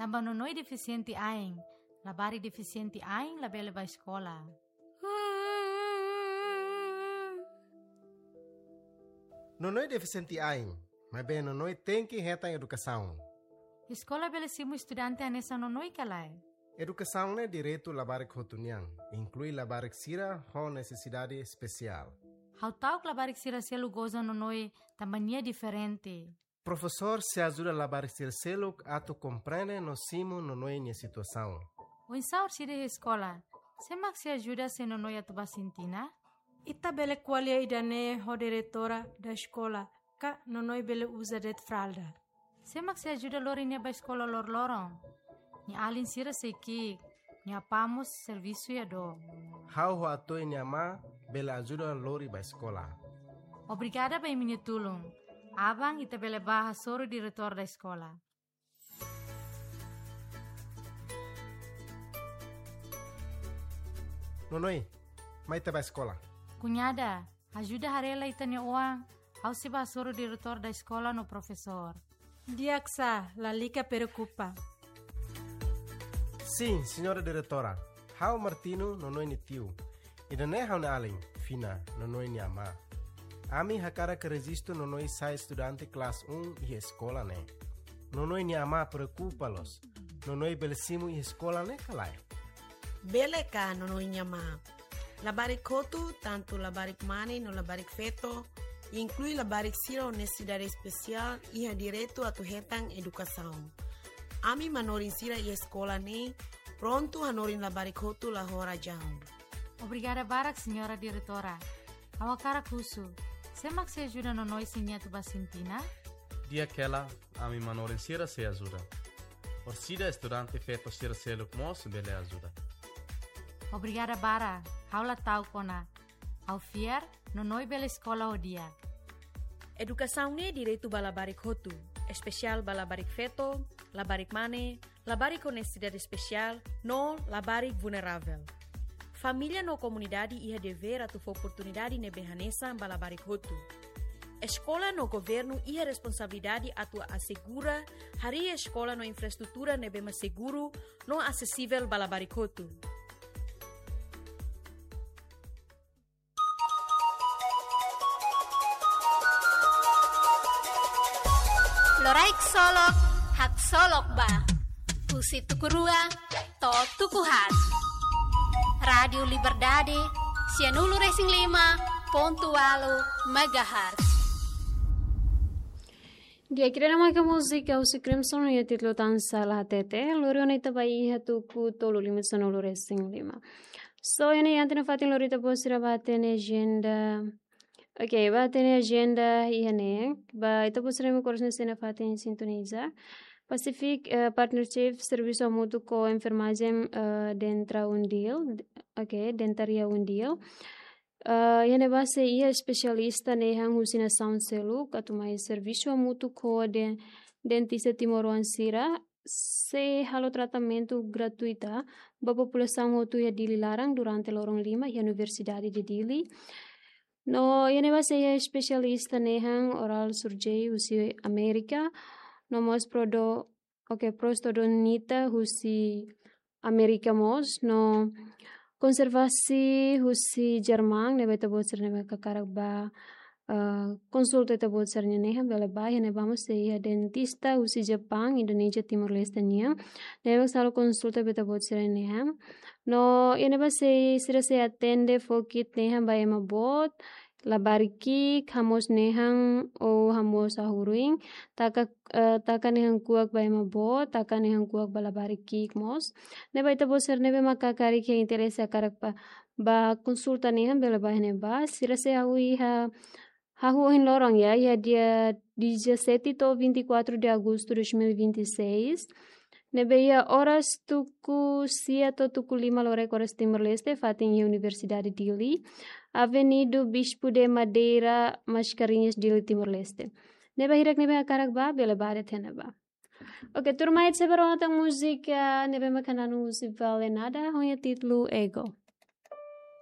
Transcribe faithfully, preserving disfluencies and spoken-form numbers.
Tanba nonoin defisiente ain, labarik defisiente ain labele bá eskola. Nonoin defisiente ain, maibé nonoin tenke hetan edukasaun. Eskola bele simu estudante hanesan nonoin ka lae? Edukasaun ne'e direitu labarik hotu nian, inklui labarik sira ho nesesidade espesiál. Ha'u ta'uk labarik sira seluk goza nonoin tanba nia diferente. Profesór sei ajuda labarik sira seluk atu komprende no simu nonoin nia situasaun. Oinsá orsida iha eskola? Sé mak sei ajuda se nonoin atu bá sintina? Ita bele ko'alia ida-ne'e ho diretora da eskola, ka nonoin bele uza de'it fralda. Sé mak sei ajuda lori nia bá eskola loroloron? Nia alin sira sei ki'ik, nia apá mós servisu iha dook. Ha'u ho Atoe nia amá bele ajuda lori bá eskola. Obrigada ba imi-nia tulun. Aban ita bele bá hasoru diretór da eskola. Nonoin, mai ita bá eskola. Kuñada, ajuda haree lai ita-nia oan, ha'u sei bá hasoru diretór da eskola no profesór. Di'ak sá, lalika preokupa. Sin, señora diretora. Ha'u Martino, nonoin nia tiu. Ida-ne'e ha'u-nia alin, Fina, nonoin nia amá. Ami hakarak rejistu nonoin sai estudante kelas um iha eskola ne'e. Nonoin nia amá preokupa loos. Nonoin bele simu iha eskola ne'e ka lae? Bele ka, nonoin nia amá? Labarik hotu, tantu labarik mane no labarik feto, inklui labarik sira ho nesesidade espesiál, iha direitu atu hetan edukasaun. Ami manorin sira iha eskola ne'e prontu hanorin labarik hotu la ho razaun. Obrigada barak, señora diretora. Ha'u hakarak husu, sé mak sei ajuda nonoin se nia atu bá sintina? Di'ak hela, ami manorin sira sei ajuda. Orsida estudante feto sira seluk mós bele ajuda. Obrigada barak, ha'u la ta'uk ona. Ha'u fiar, nonoin bele eskola ho di'ak. Edukasaun ne'e direitu ba labarik hotu, espesiál ba labarik feto, labarik mane, labarik ho nesesidade espesiál, no labarik vulneravel. Família no komunidade iha devér atu fó oportunidade ne'ebé hanesan ba labarik hotu. Eskola no governu iha responsabilidade atu asegura harii eskola no infraestrutura ne'ebé mak seguru no asesivel ba labarik hotu. Loraik solok, haksolok ba. Husi tuku rua to'o tuku haat. Rádiu Liberdade, sianulu resin lima pontu ualu megahertz. Di'ak, ida-ne'e maka múzika husi Crimson iha títulu Tan Sala Hatete, lori ona ita ba iha tuku tolu lima sanulu resin lima. So, iha ne'e iha ita-nia fatin lori ita-boot sira ba hatene ajenda. Oke, ba hatene ajenda iha ne'e. Ba ita-boot sira mak oras ne'e sei iha fatin sintoniza. Pacific, eh, Partnership, servisu hamutuk ho enfermajen, eh, Dentra UNDIL. Oke, Dentaria UNDIL. Eh, iha ne'ebá sei iha espesialista ne'e han husi nasaun seluk, atu mai servisu hamutuk ho den-, dentista timoroan sira, sei halo tratamentu gratuita ba populasaun hotu iha Dili laran durante loron lima iha Universidade de Dili. No iha ne'ebá sei iha espesialista ne'e han oral surgery husi Amérika, no mós prodo-, oke, prostodontia husi Amérika mós, no konservasi husi Jerman, ne'ebé ita-boot sira ne'ebé hakarak ba, eh, konsulta ita-boot sira-nia ne'e han bele ba, iha ne'ebá mós sei iha dentista husi Jepaun, Indonézia, Timor-Leste nian. Ne'ebé halo konsulta ba ita-boot sira-nia ne'e han. No iha ne'ebá sei sira sei atende fokit ne'e han ba ema boot, labarik ki'ik, hamoos nehan ou hamoos hahú ruin, taka, eh, taka nehan kuak ba ema boot, taka nehan kuak ba labarik ki'ik mós. Ne'ebé ita-boot sira ne'ebé mak hakarak, iha interese hakarak ba, ba konsulta nehan bele ba iha ne'ebá, sira sei hahú iha, hahú ohin loron ya, iha dia dezassete to'o vinte e quatro de agosto de dois mil e vinte e seis. Ne'ebé iha oras tuku sia to'o tuku lima loraik oras Timor-Leste, fatin iha Universidade Dili, Avenida Bispo de Madeira, Mascarenhas, Dili, Timor-Leste. Ne'ebé hirak ne'ebé hakarak ba, bele ba de'it iha ne'ebá. Oke, tuirmai ita sei bá rona tan múzika ne'ebé mak hananu husi Vale Nada, ho nia títulu Ego.